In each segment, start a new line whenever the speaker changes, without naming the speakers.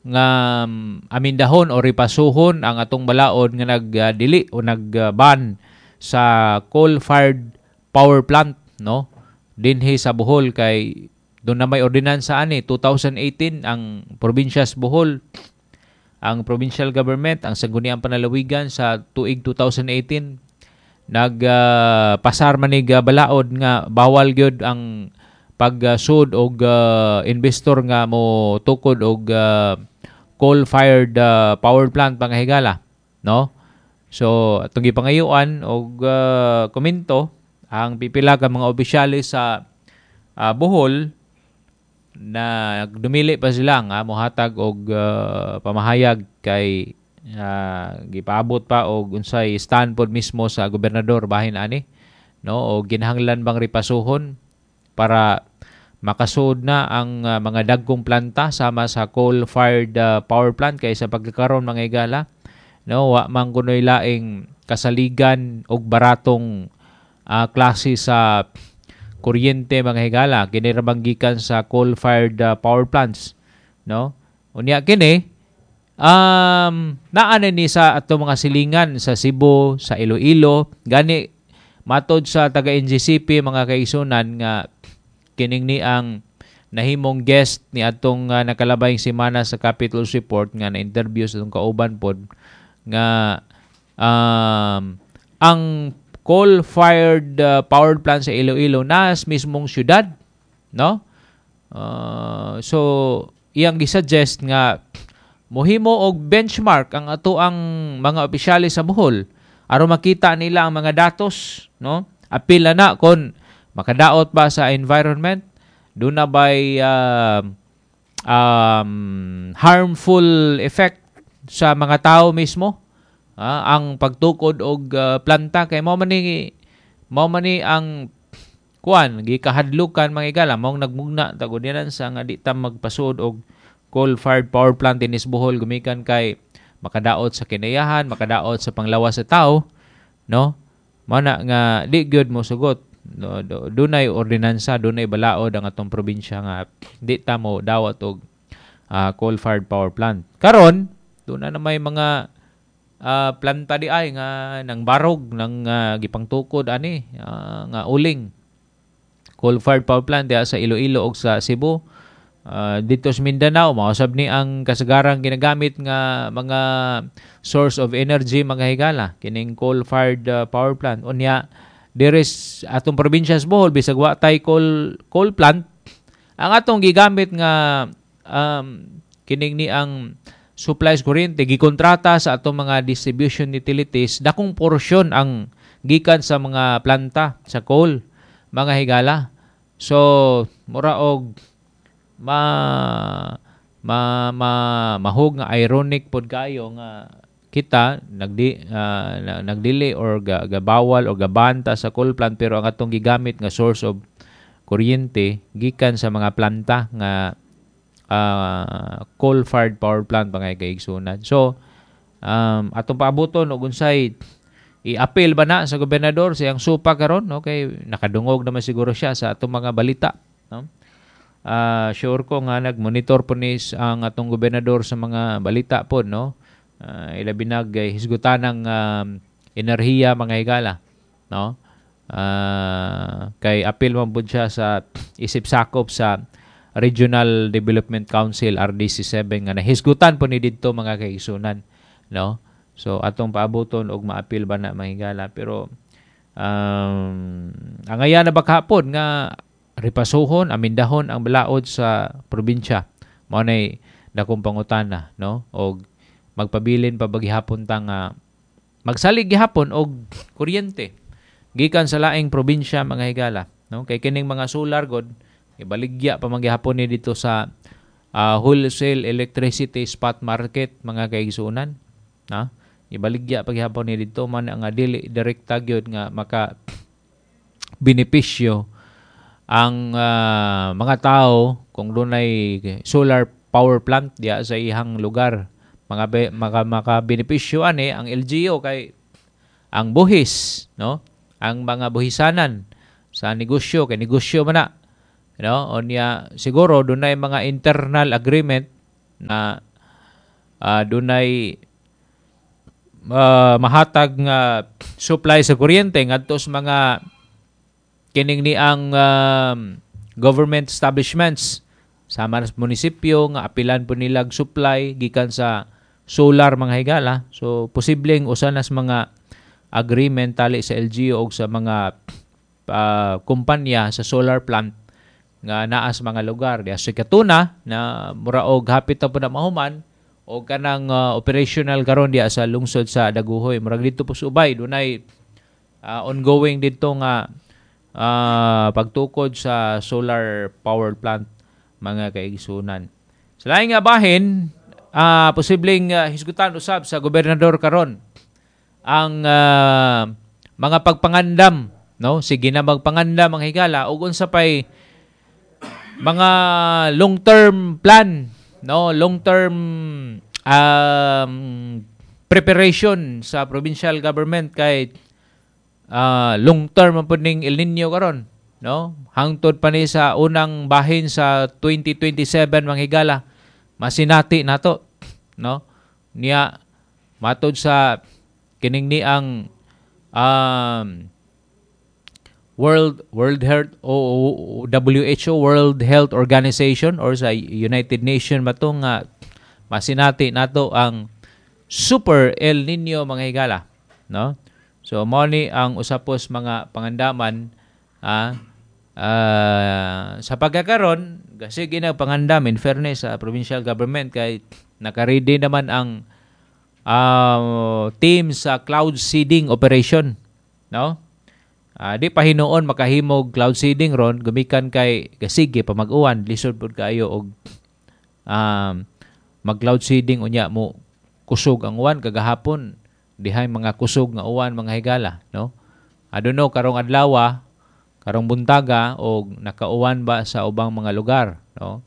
nga amindahon o ripasuhon ang atong balaod nga nagdili o nagban sa coal-fired power plant, no, dinhi sa Bohol, kay doon na may ordinansa ani 2018 ang probinsya sa Bohol, ang provincial government, ang Sangguniang Panlalawigan, sa tuig 2018 nagpasar manig balaod nga bawal gyud ang pagsud og investor nga mo tukod og coal-fired power plant, mga higala, no? So atong gipangayuan og komento ang pipila ka mga opisyales sa Bohol na dumili pa sila nga mohatag og pamahayag kay gipaabot pa og unsay stand pod mismo sa gobernador bahin ani, no, o ginahanglan bang ripasuhon para makasuod na ang mga dagkong planta sama sa coal-fired power plant, kay sa pagkakaron, mga higala, no, wa man kunoy laing kasaligan og baratong klase sa kuryente, mga higala. Kini ra bang gikan sa coal-fired power plants, no? Unya kini naa na ni sa ato mga silingan sa Cebu, sa Iloilo. Gani matod sa taga NGCP, mga kaigsunan, nga kining ni ang nahimong guest ni atong nakalabayng semana sa Capitol Report nga na-interview sa atong kauban pod nga ang coal-fired power plant sa Iloilo nas mismong syudad, no? So iyang gisuggest nga mohimo og benchmark ang ato ang mga opisyales sa Bohol aron makita nila ang mga datos, no? Apil na kon makadaot ba sa environment, duna bay harmful effect sa mga tao mismo ang pagtukod og planta, kay mao man ni ang kuan gikahadlukan, mga higala. Maong nagmugna tag ordinansa nga di ta magpasuod og coal-fired power plant dinhi sa Bohol gumikan kay makadaot sa kinayahan, makadaot sa panglawas sa tao, no? Mao na nga di gyud mo sugot, no? Dunay ordinansa, dunay balaod ang atong probinsya nga di ta mo dawat og coal-fired power plant. Karon duna na may mga planta di ay nga nang barog nang gipangtukod ani nga uling coal-fired power plant diha sa Iloilo ug sa Cebu. Dito sa Mindanao, mausab ni ang kasagarang ginagamit nga mga source of energy, mga higala, kining coal-fired power plant. Unya diri atong probinsya sa Bohol, bisag wa tay coal plant, ang atong gigamit nga kining ni ang supplies kuryente gikontrata sa atong mga distribution utilities, dakong porsyon ang gikan sa mga planta sa coal, mga higala. So mura og ma ma, ma mahog nga ironic pod kayo nga kita nagdili or gabawal o gabanta sa coal plant, pero ang atong gigamit nga source of kuryente gikan sa mga planta nga coal-fired power plant, mga kaigsunan. So atong paabuton og unsay i-appeal ba na sa gobernador sa iyang supa karon, no, kay nakadungog naman siguro siya sa atong mga balita, no? Sure ko nga nagmonitor po ni ang atong gobernador sa mga balita po, no? Ilabi nag hisgutan ng enerhiya, mga higala, no? Kay apil man pud siya sa isip sakop sa Regional Development Council, RDC 7, nga nahisgutan po ni didto, mga kaigsunan, no? So atong paabuton og maapil ba na, mga higala, pero ang aya na ba kahapon nga ripasuhon, amindahon ang balaod sa probinsya, mao nay dakong pangutana, no? Og magpabilin pa ba gihapon ta nga magsalig gihapon og kuryente gikan sa laing probinsya, mga higala, no? Kay kining mga solar god ibaligya pa man gihapon ni dito sa wholesale electricity spot market, mga kaigsuonan, na ibaligya pa gihapon ni dito man nga dili direkta gyud nga maka benepisyo ang mga tao kung dunay solar power plant diya sa ihang lugar. Mga maka maka benepisyo ani ang LGU kay ang buhis, no, ang mga buhisanan sa negosyo, kay negosyo man na, no? Unya siguro dunay mga internal agreement na Dunay mahatag nga supply sa kuryente ngadto sa mga kining ni ang government establishments sama sa munisipyo nga apilan po nilag supply gikan sa solar, mga higala. So posibleng usa na sa mga agreement tali sa LGU og sa mga kumpanya sa solar plant nga naa sa mga lugar diha sa Katuna na mura og hapit na po na mahuman o kanang operational karon diha sa lungsod sa Dagohoy. Murag didto po sa Ubay, dunay ongoing didto nga pagtukod sa solar power plant, mga kaigsunan. Sa laing nga bahin, posibleng hisgutan usab sa gobernador karon ang mga pagpangandam, no? Sige na magpangandam ang higala ug unsa pay mga long-term plan, no, long-term preparation sa provincial government kay long term ang pud ning El Nino karon, no? Hangtod pa ni sa unang bahin sa 2027, mga higala, masinati nato, no? Niya matod sa kining ni ang World World Health o WHO, World Health Organization, or sa United Nation ba to nga masinati nato ang Super El Nino, mga higala, no? So mao ni ang usa pos mga pangandaman sa pagkakaron kasi ginapangandam, in fairness sa provincial government, kay naka-ready naman ang team sa cloud seeding operation, no? Di pa hinuon makahimog cloud seeding ron gumikan kay gasige pa mag-uwan, lisod pud kaayo og mag cloud seeding unya mo kusog ang uwan. Kagahapon dihay mga kusog nga uwan, mga higala, no? I don't know karong adlaw, karong buntaga, og nakauwan ba sa ubang mga lugar, no?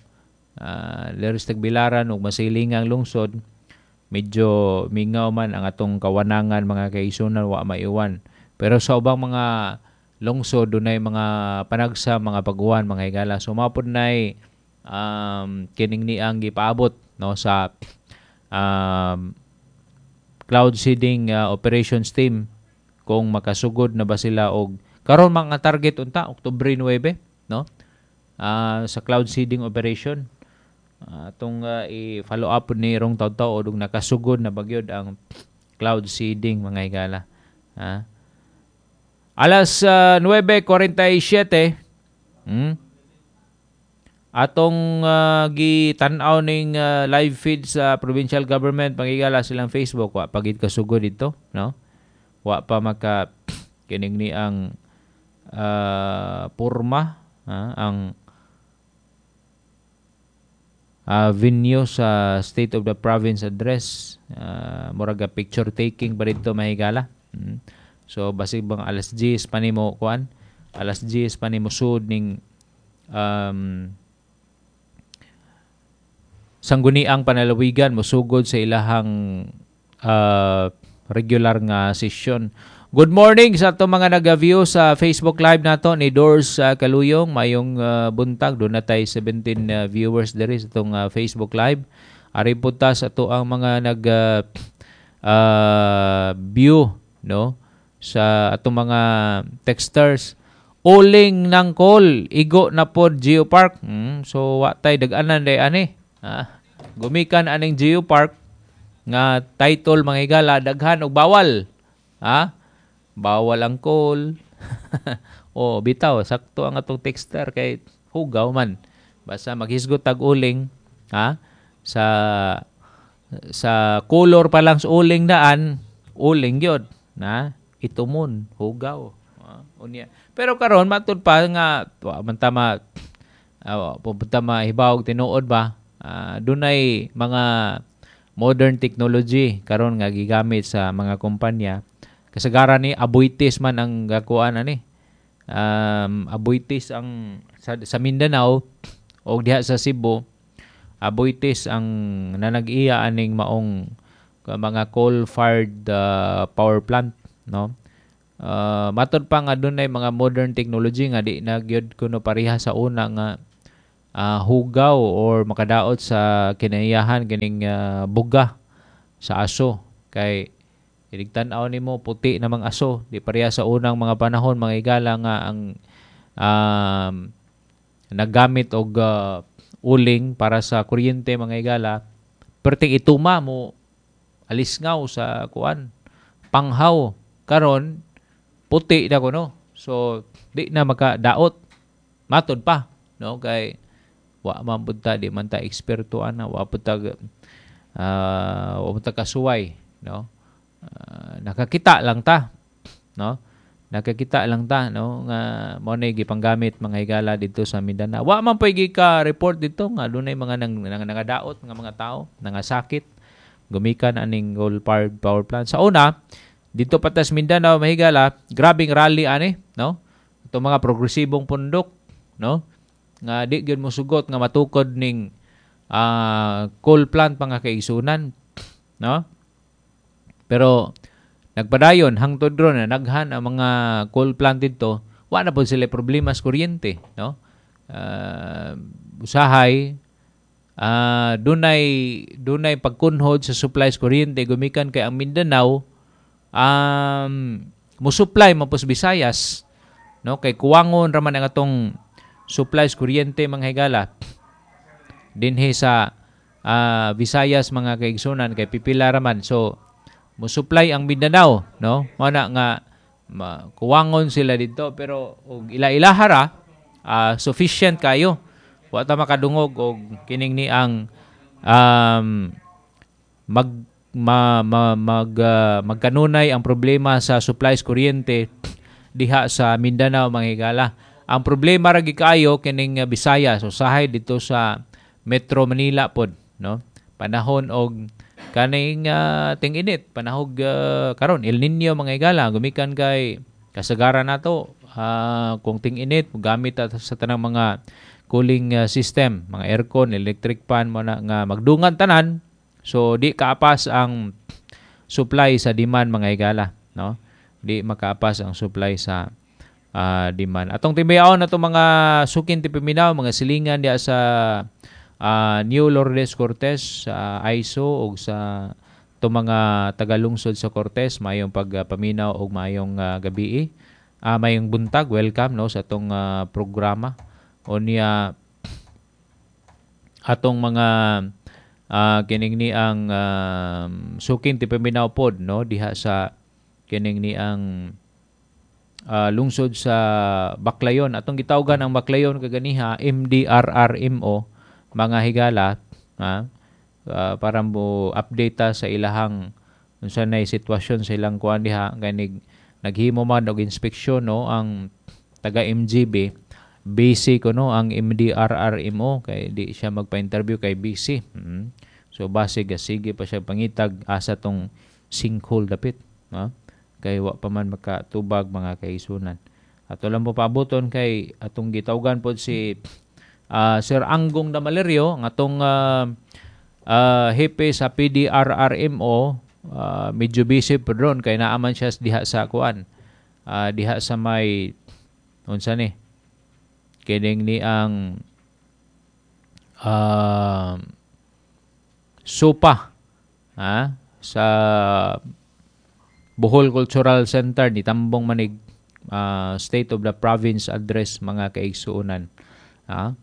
Diri sa Tagbilaran ug masilingang lungsod, medyo mingaw man ang atong kawanangan, mga kaigsunan, wa maiwan. Pero sa ubang mga lungsod dunay mga panagsa, mga pag-uwan, mga higala. So mao pud nay kining niang gipaabot, no, sa cloud seeding operations team kung makasugod na ba sila og karon mga target unta Oktubre 9, no, sa cloud seeding operation. Atong i-follow up ni rong taw-taw og nakasugod na bagyod ang cloud seeding, mga higala. Alas 9:47, atong gitan-aw ning live feed sa provincial government, pangigala, silang Facebook, wa pagid kasugod dito, no? Wa pa maka kining ni ang porma ang venue sa State of the Province Address. Murag picture taking pa dito, mahigala. So basig bang alas 10 pa nimo kuan, alas 10 pa nimo sud ning Sangguniang Panlalawigan mosugod sa ilahang regular nga session. Good morning sa atong mga nag-view sa Facebook Live nato ni Doors Kaluyong. Mayong buntag. Duna tay 17 viewers diri sa atong Facebook Live. Ari po ta sa ato ang mga nag view, no, sa atong mga texters. Uling ng coal, igo na pod Geopark. So wa tay dag-anan day ani. Gumikan aning Geopark nga title, mga higala, daghan og bawal. Ha? Bawal ang coal. O bitaw, sakto ang atong texter kay hugaw man. Basta maghisgot tag uling, ha? Sa color pa lang sa uling daan, uling gyud na itumon, hugaw. Unya. Pero karon matud pa nga wa man ta ma pupunta mahibawog tinuod ba, dunay mga modern technology karon nga gigamit sa mga kumpanya. Kasagaran ni Aboitiz man ang gakuan ani. Aboitiz ang sa Mindanao o diha sa Cebu, Aboitiz ang nanag-iya aning maong mga coal-fired power plant, no? Matod pa nga dunay mga modern technology nga di na gyud kuno pareha sa una nga hugaw or makadaot sa kinaiyahan kining buga. Sa aso kay inig tan-aw nimo, puti namang aso, di pareha sa unang mga panahon, mga higala, nga ang naggamit og uling para sa kuryente, mga higala, perting ituma mo alisngaw sa kuan, panghaw. Karon puti na kuno, so di na makadaot, matod pa, no? Kay wa man pud ta, di man ta eksperto ana, wa pud ta kasuway, no? Nakakita lang ta, no? Nakakita lang ta, no, nga mao na gipanggamit, mga higala, dito sa Mindanao. Wa man pay ka report dito nga dunay mga nang nangadaot nga mga tao, nangasakit gumikan aning coal powered power plant. Sa una dito patas Mindanao, mga higala, grabing rally ani, no, itong mga progresibong pundok, no, nga di gyud mosugot nga matukod ning coal plant, mga kaigsunan, no? Pero nagpadayon hangtod ron na naghan ang mga coal plant dito, wa na pod sila problema sa kuryente, no? Usahay dunay dunay pagkunhod sa supply sa kuryente gumikan kay ang Mindanao mo-supply man pos Visayas, no? Kay kuwangon ra man ang atong supply sa kuryente, mga higala, dinhi sa Visayas, mga kaigsunan, kay pipila ra man. So mo-supply ang Mindanao, no? Mao na nga kuwangon sila dito, pero og ila-ilaha ra, sufficient kayo. Wa ta makadungog og kining ni ang mag ma, ma, mag magkanunay ang problema sa supply sa kuryente diha sa Mindanao, mga higala. Ang problema ra kaayo kining Visayas, usahay dito sa Metro Manila pod, no? Panahon og kaning ting-init, panahog karon El Nino, mga higala, gumikan kay kasagaran nato kung ting-init gamit sa tanang mga cooling system, mga aircon, electric fan mo na nga magdungan tanan. So di kaapas ang supply sa demand, mga higala, no? Di makaapas ang supply sa demand. Atong tibayaon na mga sukin ti paminaw, mga silingan diya sa New Lourdes Cortes, sa ISO ug sa to mga tagalungsod sa Cortes, mayong pagpaminaw ug mayong gabi. Mayong buntag, welcome, no, sa atong programa. Unya atong mga kining ni ang suking ti paminaw pod, no, diha sa kining ni ang lungsod sa Baclayon. Atong gitawgan ang Baclayon kaganiha MDRRMO, mga higala, ha, para mo update ta sa ilahang unsa nay sitwasyon sa ilang kuan diha, ganig naghimo man og inspeksyon, no, ang taga MGB. Busy kuno ang MDRRMO kay di siya magpa-interview kay busy. So base sige pa siya pangitag asa tong sinkhole dapit, no? Kay wa pa man makatubag, mga kaisunan. Ato lang po paabuton kay atong gitawgan pod si Sir Anggong Damalerio, ang atong hepe sa PDRRMO, medyo busy po ron kay naaman siya diha sa kuan, diha sa may unsa ni kining ni ang supa, ha, sa Bohol Cultural Center ni Tambong Manig State of the Province Address, mga kaigsuonan. Ha?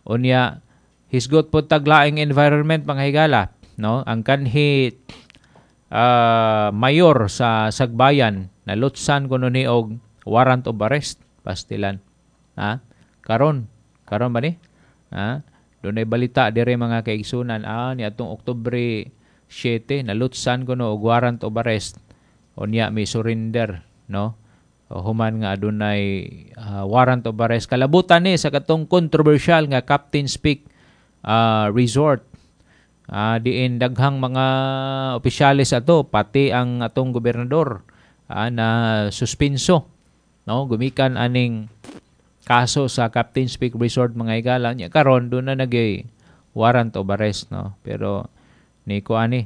Unya hisgot po taglaing environment, mga higala, no? Ang kanhi mayor sa Sagbayan nalutsan kuno ni og warrant of arrest, pastilan. Ha? Karon, karon ba ni? Ha? Dunay balita dire, mga kaigsunan, ni atong Oktubre 7 nalutsan kuno og warrant of arrest. Unya may surrender, no? O, human nga adunay warrant of arrest kalabutan ni sa katong controversial nga Captain's Peak Resort. Diin daghang mga opisyales ato, pati ang atong gobernador na suspinso, no, gumikan aning kaso sa Captain's Peak Resort, mga higala. Nya karon doon na nagay warrant of arrest, no? Pero ni ko ani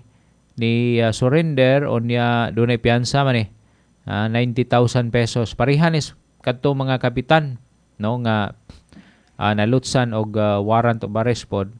ni surrender, unya dunay piyansa man eh, 90,000 pesos. Parehan is kadto mga kapitan, no, nga nalutsan og warrant of arrest pod.